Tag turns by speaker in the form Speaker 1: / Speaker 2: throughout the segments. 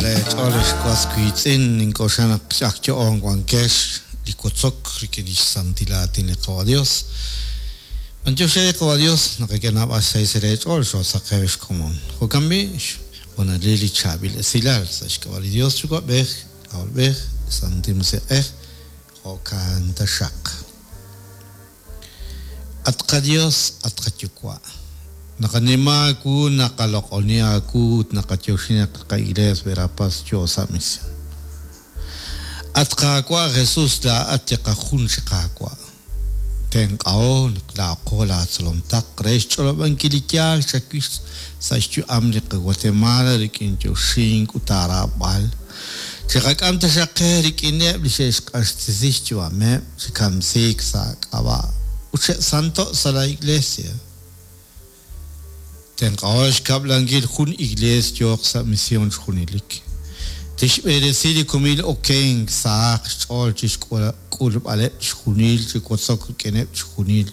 Speaker 1: leech'ool ex was wiitz'in, nink'oxla naq ak yo'oon wankex li wotzok rik'in lix santil aatin li Qawa' Dios. B'antiox re li Qawa' Dios naqak'e naab'al xsahil sa' leech'ool xoosaqew ex komon. Jo'kan b'i', xhoonalil li chaab'il esilal sa' xk'ab'a' li Dios Yuwa'b'ej, K'ajolb'ej, Santil Musiq'ej, jo'kan taxaq. At qaYos, at qaYuwa', naqanima aawu, naqaloq'oni aawu ut naqayoxi naq li qaIglees Verapaz yoo sa' mision. At Qaawa' Jesus, laa'at li qajun chi Qaawa'. Tenq'aho naq laa'aqo laatzolom taq re xch'olob'ankil li yaal chawix sa' xyu'am li qaGuatemala rik'in yoxink ut aaraab'al. Chiqak'am taxaq qe rik'ineb' li xe'xq'axtesi xyu'ameb' chi kamsiik sa' aak'ab'a' ut xe'santo' sa' laa Iglesia. Tenq'aho xkab'lankil jun iglees yooq sa' mision chi junelik. Tixb'eresi li kumil okenk sahaq xch'ool chi xk'ulb'aleb' chixjunil chi wotzok rik'ineb' chixjunil,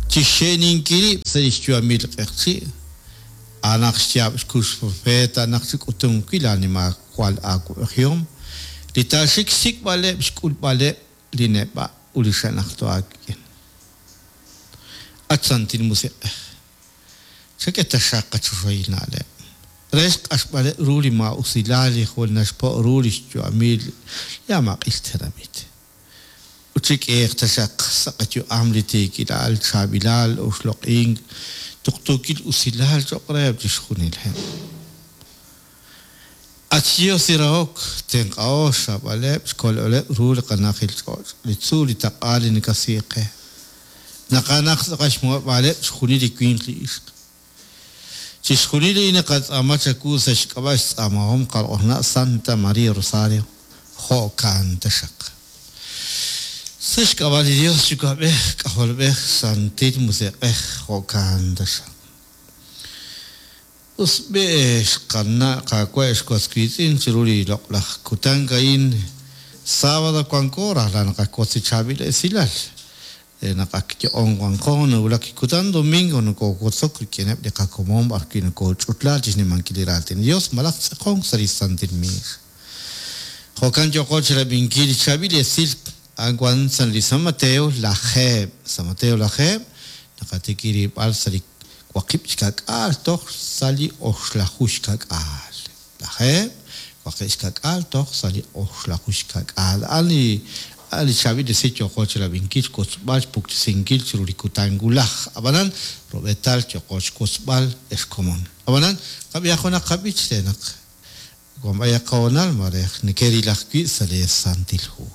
Speaker 1: chi xxe'ninkil rib' sa' li xyu'amil li q'eqchi'. A'anaq xyaab' xkux profeet a'anaq chi k'utunq wi' laa nimajwal aawa'b'ejihom, li taaxik xsik'b'aleb' xk'ulb'aleb' li neb'a' ut li xe'najto' aawik'in. At Santil Musiq'ej, chak'e taxaq qachoxahil na'leb' re xq'axb'aleb' ru li maa'usilal li jwal naxpo' ru lix yu'amil li amaq'il tenamit. Ut chik'iiq taxaq sa' qayu'am li tiikilal, chaab'ilal, oxloq'ink, tuqtuukil usilal choq' reheb' chixjunileb'. At xYos li rahok, tenq'aho xraab'aleb', xkolb'aleb' ru li qana'ajil ch'och', li tzuul, li taq'a li nakasiik qe. Naqanaq tz'aqal xmuheb'aaleb' chixjunil li winq li ixq. Chixjunil li naqatz'aama chawu sa' xk'ab'a' xtz'aamahom qalq'ojna' Santa María Rosario, jo'kan taxaq. Sa' xk'ab'a' li Dios Yuwa'b'ej, K'ajolb'ej, Santil Musiq'ej, jo'kan taxaq. Us b'i' xqana' Qaawa' ex was wiitz'in chiru li loq'laj kutan a'in sábado wanko rajlal naqawotz li chaab'il esilal re naq ak yo'on wanqo nawulak li kutan domingo nokowotzok rik'ineb' li qakomon b'arwi' nokoch'utla chi xnimankil li raatin li Dios malaj tz'aqonk sa' li santil miix. Jo'kan yooqo chirab'inkil li chaab'il esil a'an wan sa' li San Mateo lajeeb', San Mateo lajeeb', naqatikib' rilb'al sa' li waqib' xka'k'aal toj sa' li oxlaju xka'k'aal. Lajeeb', waqib' xka'k'aal toj sa' li oxlaju xka'k'aal. A'an li a'an li chaab'il esil yooqo chirab'inkil, xwotzb'al, xpuktesinkil chiru li kutan wulaj. Ab'anan, rub'eetal yooqo xwotzb'al ex komon. Ab'anan, qab'ihaq junaq qab'ich re naq Wan b'ayaq qahoonal maare nekeril ajwi' sa' lee Santil Hu.